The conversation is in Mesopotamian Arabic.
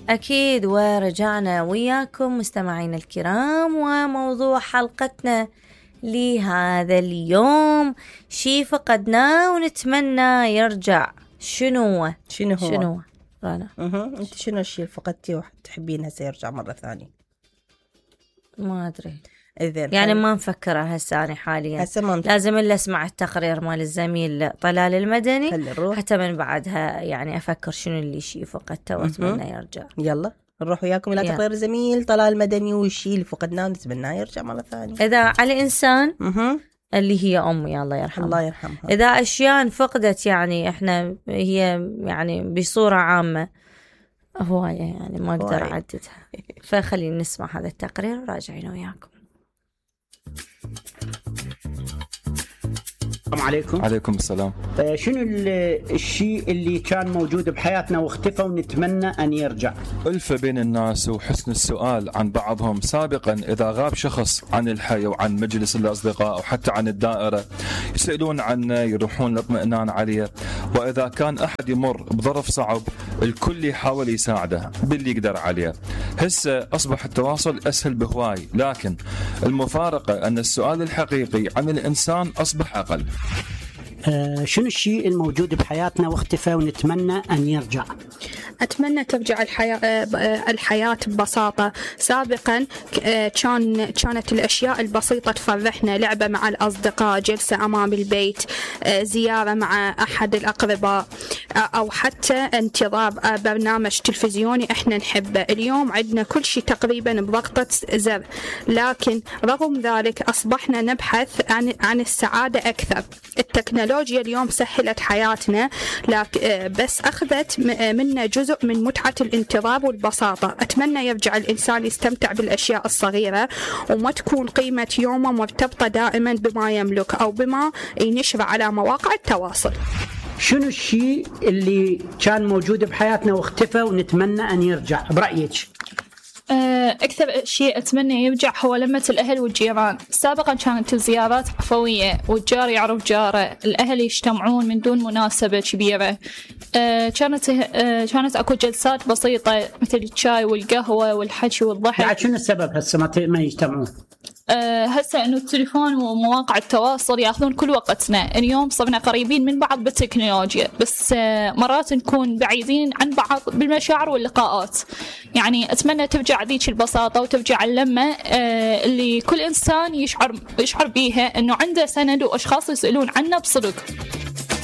أكيد، ورجعنا وياكم مستمعينا الكرام، وموضوع حلقتنا لهذا اليوم شي فقدناه ونتمنى يرجع. شنو هو؟ رنا انت شنو الشيء اللي فقدتيه وتحبينها سيرجع مرة ثانية؟ ما أدري يعني ما نفكرها هسه حاليا. لازم إلا أسمع التقرير مال الزميل طلال المدني حتى من بعدها يعني أفكر شنو اللي شيء فقدته وأتمنى يرجع. يلا نروح وياكم إلى تقرير الزميل طلال المدني والشيء اللي فقدناه ونتمناه يرجع مرة ثانية. إذا على إنسان اللي هي أمي الله يرحمها، إذا أشياء فقدت يعني إحنا هي يعني بصورة عامة هواية يعني ما أقدر أعددها. فخلينا نسمع هذا التقرير وراجعين وياكم. السلام عليكم. عليكم السلام. شنو الشيء اللي كان موجود بحياتنا واختفى ونتمنى أن يرجع؟ ألفة بين الناس وحسن السؤال عن بعضهم. سابقا إذا غاب شخص عن الحي وعن مجلس الأصدقاء أو حتى عن الدائرة يسألون عنه، يروحون الاطمئنان عليه، وإذا كان أحد يمر بظرف صعب الكل يحاول يساعده باللي يقدر عليه. هسه أصبح التواصل أسهل بهواي، لكن المفارقة أن السؤال الحقيقي عن الإنسان أصبح أقل. شنو الشيء الموجود بحياتنا واختفى ونتمنى أن يرجع؟ أتمنى ترجع الحياة ببساطة. سابقا كانت الأشياء البسيطة تفرحنا، لعبة مع الأصدقاء، جلسة أمام البيت، زيارة مع أحد الأقرباء، أو حتى انتظار برنامج تلفزيوني إحنا نحبه. اليوم عندنا كل شيء تقريبا بضغطة زر، لكن رغم ذلك أصبحنا نبحث عن السعادة أكثر. التكنولوجيا اليوم سهلت حياتنا، بس أخذت منا جزء من متعة الانتظار والبساطة. أتمنى يرجع الإنسان يستمتع بالأشياء الصغيرة وما تكون قيمة يومه مرتبطة دائما بما يملك أو بما ينشر على مواقع التواصل. شنو الشيء اللي كان موجود بحياتنا واختفى ونتمنى أن يرجع برأيك؟ أكثر شيء أتمنى يرجع هو لمة الأهل والجيران. سابقا كانت الزيارات عفوية والجار يعرف جاره، الأهل يجتمعون من دون مناسبة كبيرة. كانت أكو جلسات بسيطة مثل الشاي والقهوة والحكي والضحك. يعني شنو السبب هسه ما يجتمعون؟ هسه انه التليفون ومواقع التواصل ياخذون كل وقتنا. اليوم صرنا قريبين من بعض بالتكنولوجيا، بس مرات نكون بعيدين عن بعض بالمشاعر واللقاءات. يعني اتمنى ترجع ذيك البساطه وترجع اللمه اللي كل انسان يشعر بيها انه عنده سند واشخاص يسالون عنه بصدق.